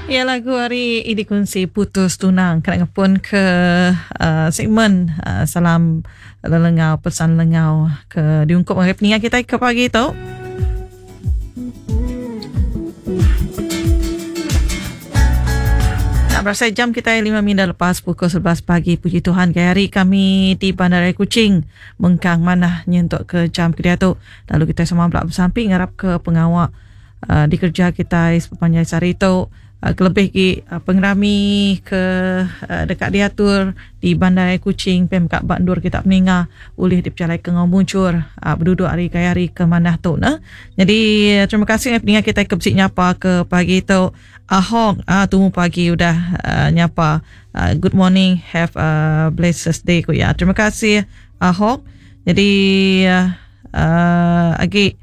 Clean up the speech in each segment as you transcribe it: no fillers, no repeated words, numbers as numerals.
Ya lagu ari Idi Kunsi Putus Tunang kena ngepun ke uh, segmen uh, salam lelengau pesan lengau ke diungkup ngagai peninga kita ke pagi tu. Tak berasa jam kita 5 minit lepas pukul 11 pagi puji Tuhan ke hari kami di Bandaraya Kuching mengkang manah nyentuk ke jam ke diatu lalu kita sama belak besampi ngarap ke pengawa uh, dikerja kitai sepemanjai sehari tu uh, kelebih gi uh, pengerami ke uh, deka diatur di Bandar Kuching pem ka ba endur kita peninga ulih dipejalai ke ngau mujur uh, beduduk ari gaya hari ke manah tu ne. Jadi terima kasih peninga kita ke bisi nyapa ke pagi tu Ahong uh, tumu pagi udah uh, nyapa uh, good morning have a blessed day ku ya. Terima kasih Ahong. Jadi uh, uh, agi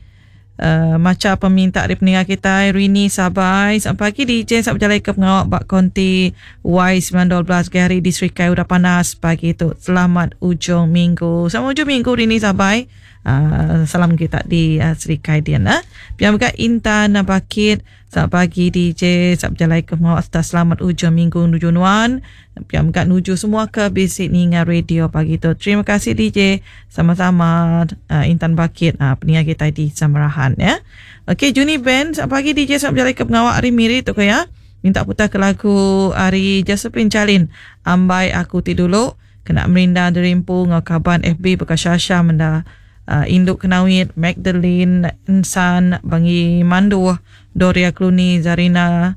Uh, macha peminta ari peninga kitai Rini Sabai selamat pagi DJ selamat bejalai ke pengawa ba konti Y912 gaya hari di Serikai udah panas pagi tu selamat ujung minggu selamat ujung minggu Rini Sabai uh, salam kita di uh, Serikai dian uh. Pia mega Intan Bakit selamat pagi DJ selamat bejalai ke pengawa serta selamat ujung minggu nuju nuan Pia mega nuju semua ke bisi ninga radio pagi tu. Terima kasih DJ. Sama-sama uh, Intan Bakit uh, peninga kita di Samarahan ya. Okey Juni Ben, selamat pagi DJ selamat berjalai ke pengawak hari Miri tu ke ya. Minta putar ke lagu hari Josephine Jalin Ambai Aku Ti Dulu kena merinda derimpu ngau kaban FB beka Shasha menda uh, Induk Kenawit Magdalene Insan Bangi Manduh Doria Cluny Zarina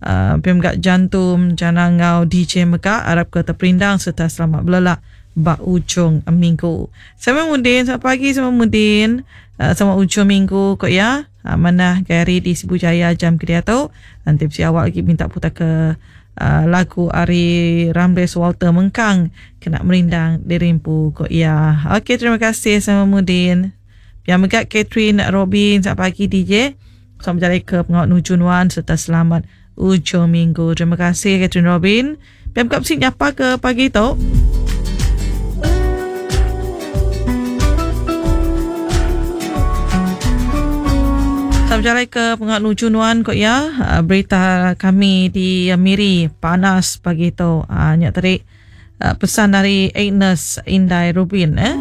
Pia mega Jantum, Jana enggau DJ mega arapka teperindang sereta selamat belelak ba ujung minggu. Sama Mudin, selamat pagi sama Mudin. Selamat ujung minggu ko iya. Manah gaya hari di Sibu Jaya jam ke diatu. Enti bisi awak lagi minta putar ke lagu ari Ramles Walter Mengkang kena merindang diri empu ko iya. Okey terima kasih sama Mudin. Pia mega Catherine Robin, selamat pagi DJ. Selamat bejalai ke pengawa nuju nuan sereta selamat ujung minggu. Terima kasih Catherine Robin. Pia mega bisi nyapa ke pagi tu. Selamat bejalai ke pengawa nuju nuan ko iya. Ah, berita kami di Miri panas pagi tu. Ah, nya tadi ah, pesan dari Agnes Indai Rubin eh.